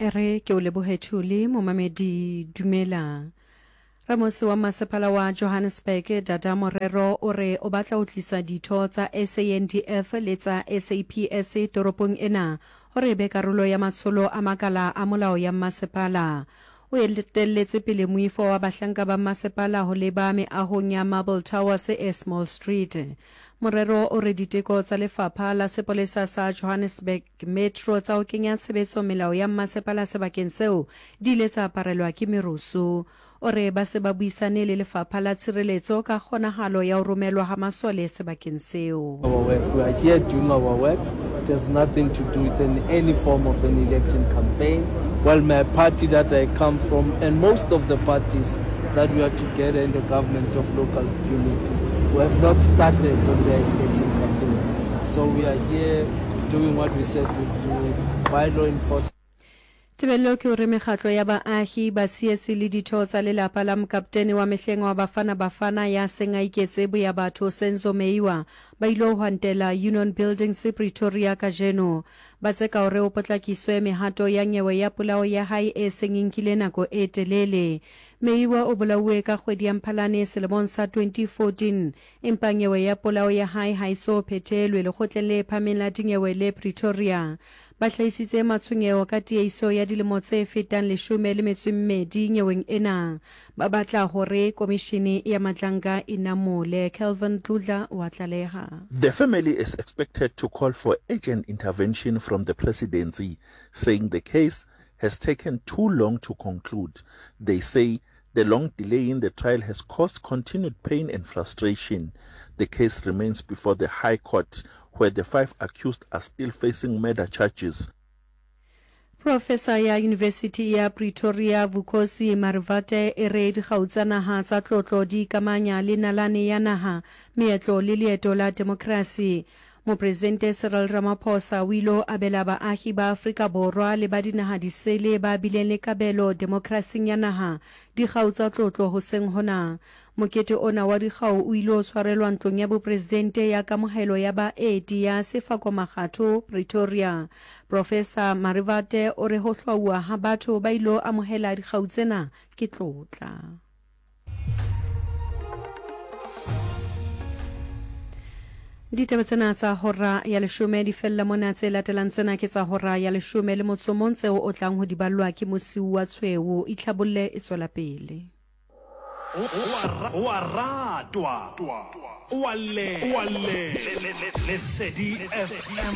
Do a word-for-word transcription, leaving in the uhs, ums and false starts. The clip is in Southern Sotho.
E re ke o lebohe Thuli, momamedi dumela. Ramosi wa masepala wa Johannesburg Dada Morero o re o batla ho tlisa ditho tsa S A N D F le tsa S A P S toropong ena hore e be karolo ya matsholo a makala a molao ya masepala. O etelletse pele moifo wa bahlanka ba masepala ho leba meahong ya Marble Towers e Small Street. Morero o re diteko tsa lefapha la sepolesa sa Johannesburg Metro tsa ho kenya tshebetso melao ya masepala sebakeng seo di ile tsa aparelwa ke merusu. O re ba se ba buisane le lefapha la tshireletso ka kgonahalo ya ho romelwa ha masole sebakeng seo. Our work. We are here doing our work. It has nothing to do with any, any form of an election campaign. Well, my party that I come from and most of the parties that we are together in the government of local unity, we have not started on their election campaigns. So we are here doing what we said we'd do by law enforcement. Tebello ke hore mekgatlo ya baahi, batshehetsi le ditho tsa lelapa la mokaptene wa mehleng wa Bafana Bafana ya seng a iketse boya batho Senzo Meyiwa ba ile ho hwantela Union Buildings Pretoria kajeno. Ba tseka hore ho potlakiswe mehato ya nyewe ya polao ya hae e seng e nkile nako e telele. Meyiwa o bolauwe ka kgwedi ya Mphalane selemong sa twenty fourteen, empa nyewe ya polao ya hae ha e so phethelwe lekgotleng le phahameng la dinyewe le Pretoria. Ba hlahisitse matshwenyeho ka tiehiso ya dilemo tse fetang leshome le metso e mmedi nyeweng ena. Ba batla hore komishene ya Madlanga e namole. Kelvin Dludla wa tlaleha. The family is expected to call for urgent intervention from the presidency, saying the case has taken too long to conclude. They say the long delay in the trial has caused continued pain and frustration. The case remains before the High Court, where the five accused are still facing murder charges. Professor ya University ya Pretoria Vukosi Marivate e re dikgau tsa naha tsa tlotlo di ikamanya le nalane ya naha, meetlo le leeto la demokrasi. Mopresidente Cyril Ramaphosa o ile abela baahi ba Afrika Borwa le ba dinaha disele ba bileng le kabelo demokrasing ya naha dikgau tsa tlotlo hoseng hona. Mokete ona wa dikgau o ile o tshwarelwa ntlong ya bopresidente ya kamohelo ya baeti ya Sefako Makgatho Pretoria. Professor Marivate o re ho hlwauwa ha batho ba ilo amohela dikgau tsena ke tlotla. Ditaba tsena tsa hora ya leshome di fella mona. Tse latelang tsena ke tsa hora ya leshome le motso mong tseo o tlang ho di ballwa ke Mosiu wa Tshweu. Itlhabolle e tswela pele. O a ratwa, o a le, Lesedi F M.